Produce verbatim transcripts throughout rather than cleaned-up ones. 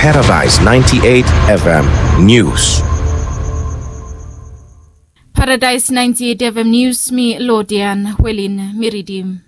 Paradise ninety-eight F M News. Paradise ninety-eight F M News, mi Lodian Welin mi ridim.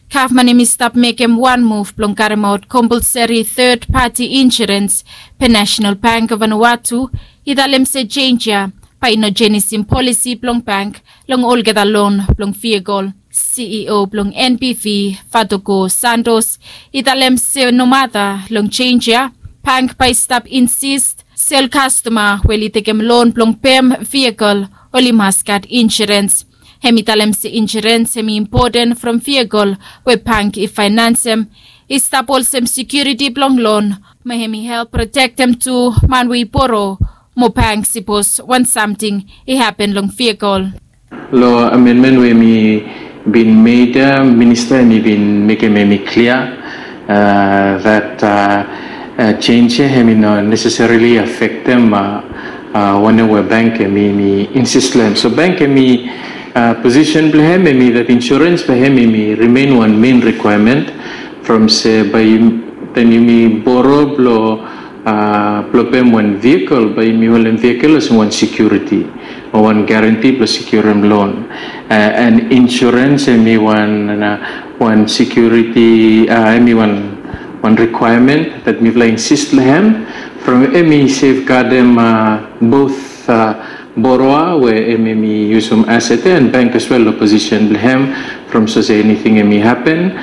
Gavman hemi stap mekem wan muv blong karemaot kompolseri third party insurance, be National Bank of Vanuatu i talem se jenj ya bae i no jenisim polisi blong bank long olgeta lon blong vehicle. C E O blong N B V, Fatoko Santos, i talem se nomata long jenj ya, bank bae i stap insist se ol kastoma we oli tekem lon blong pem vehicle oli mas gat insurance. Hemi talem se insurance hemi impoten from vehicle we bank i faenansem, i stap olsem security blong lon, mo hemi help protektem tu man we i boro mo bank sipos wan samting i hapen long vehicle. Lo amendment we hemi bin made ya, minista hemi bin mekem hemi klia that jenj ya hemi no necessarily afektem wanem we bank hemi insist lo hem. So bank hemi posisen blo hem hemi that insurance blo hem hemi remain wan main requirement from se bae taem yumi boro blo blo pem wan vehicle bae yumi holem vehicle olsem wan security o wan guarantee blo securem loan. And insurance hemi wan wan security hemi wan wan requirement that mifala insist lo hem from hemi safeguardem both borrower we hemi yusum asset ya and bank as well lo posisen blo hem from sapos anything hemi hapen.